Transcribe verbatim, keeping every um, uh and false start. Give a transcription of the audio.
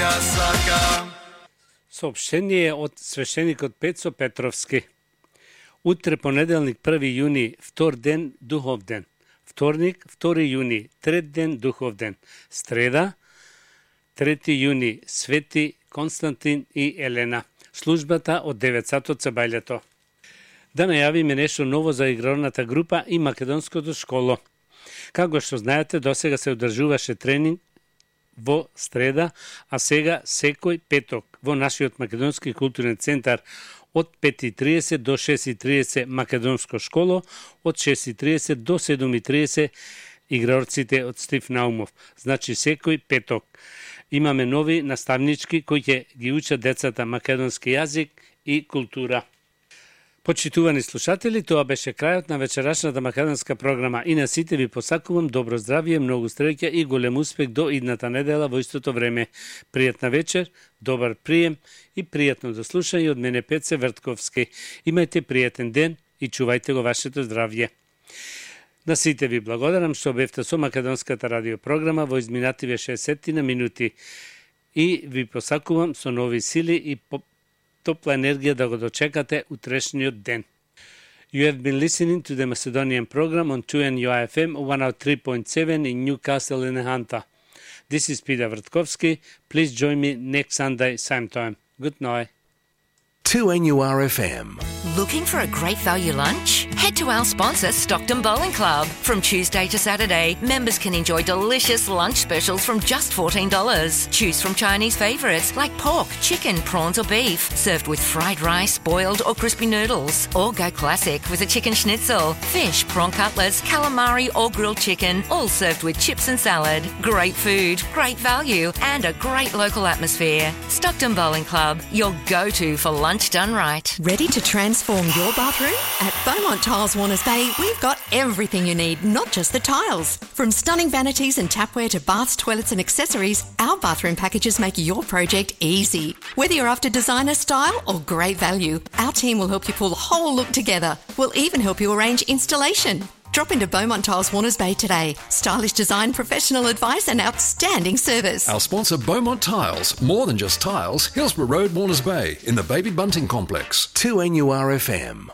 ја сакам. Сообщение од свештеникот Пецо Петровски. Утре понеделник први јуни, втор ден духов ден. Вторник втори јуни, трет ден духов ден. Среда трети јуни, Свети Константин и Елена. Службата од девет сатот се бајлето. Да најавиме нешто ново за игралната група и македонското школо. Како што знаете, досега се одржуваше тренинг во среда, а сега секој петок во нашиот македонски културен центар од пет и тридесет до шест и тридесет македонско школо, од шест и тридесет до седум и тридесет играорците од Стив Наумов. Значи секој петок. Имаме нови наставнички кои ќе ги учат децата македонски јазик и култура. Почитувани слушатели, тоа беше крајот на вечерашната македонска програма и на сите ви посакувам добро здравје, многу среќа и голем успех до идната недела во истото време. Пријатна вечер, добар прием и пријатно да слушање од мене Пеце Вртковски. Имајте пријатен ден и чувајте го вашето здравје. На сите ви благодарам што бевте со македонската радиопрограма во изминативе шесет на минути и ви посакувам со нови сили и по топла енергија да го дочекате утрешниот ден. You have been listening to the Macedonian program on two N U I F M one oh three point seven in Newcastle in Hunter. This is Peter Vrtkovski. Please join me next Sunday, same time. Good night. two N U R F M. Looking for a great value lunch? Head to our sponsor, Stockton Bowling Club. From Tuesday to Saturday, members can enjoy delicious lunch specials from just fourteen dollars. Choose from Chinese favourites like pork, chicken, prawns or beef, served with fried rice, boiled or crispy noodles. Or go classic with a chicken schnitzel, fish, prawn cutlets, calamari or grilled chicken, all served with chips and salad. Great food, great value and a great local atmosphere. Stockton Bowling Club, your go-to for lunch done right. Ready to transform your bathroom? At Beaumont Tiles Warners Bay, we've got everything you need, not just the tiles. From stunning vanities and tapware to baths, toilets and accessories, our bathroom packages make your project easy. Whether you're after designer style or great value, our team will help you pull the whole look together. We'll even help you arrange installation. Drop into Beaumont Tiles Warners Bay today. Stylish design, professional advice and outstanding service. Our sponsor Beaumont Tiles. More than just tiles. Hillsborough Road, Warners Bay in the Baby Bunting Complex. two N U R F M.